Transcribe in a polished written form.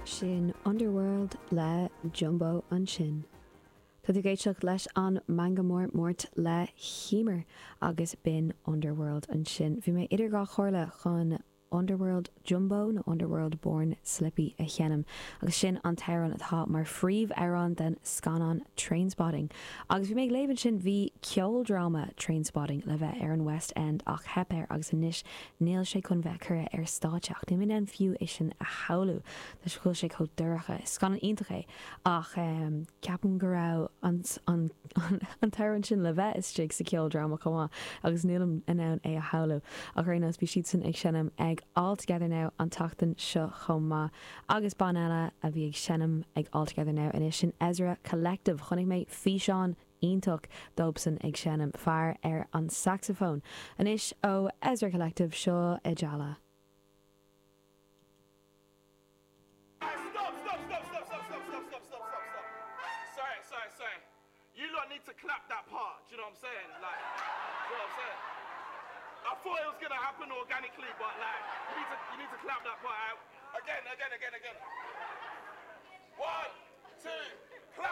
Sin Underworld le Jumbo ansin. Tá tú ag éisteacht leis an Meangadh Mór Máirt le hEmer agus b'in Underworld ansin. Bhí mé idir dhá chomhairle chun Underworld Jumbo nó Underworld Born Slippy a sheinm agus sin an t-amhrán atá mar phríomh-amhrán den scannán Trainspotting. Agus bhí mé ag léamh ansin, bhí ceoldráma Trainspotting le bheith ar an West End ach theip air agus anois níl sé chun bheith curtha ar stáitse ach níl mé in ann fiú é sin a shamhlú toisc go bhfuil sé chomh dorcha. Is scannán iontach é ach ceapaim go raibh an an an t-amhrán sin le bheith istigh sa cheoldráma chomh maith agus nílim in ann é a shamhlú. Ach ar aon nós bhí siadsan ag seinm ag All Together Now an tseachtain seo chomh maith agus banna eile a bhí ag seinm ag All Together Now anois sin Ezra Collective. Chonaic mé físeán iontach dóibhsean ag seinm, fear ar an saxophone. Anois ó Ezra Collective seo Ajala. Stop, stop, stop, stop, stop, stop, stop, stop, stop, stop, stop. Sorry, sorry, sorry. You lot need to clap that part. Do you know what I'm saying? Like, do you know what I'm saying? I thought it was gonna happen organically, but like, you need to, you need to clap that part out. Again, again, again, again. One, two, clap.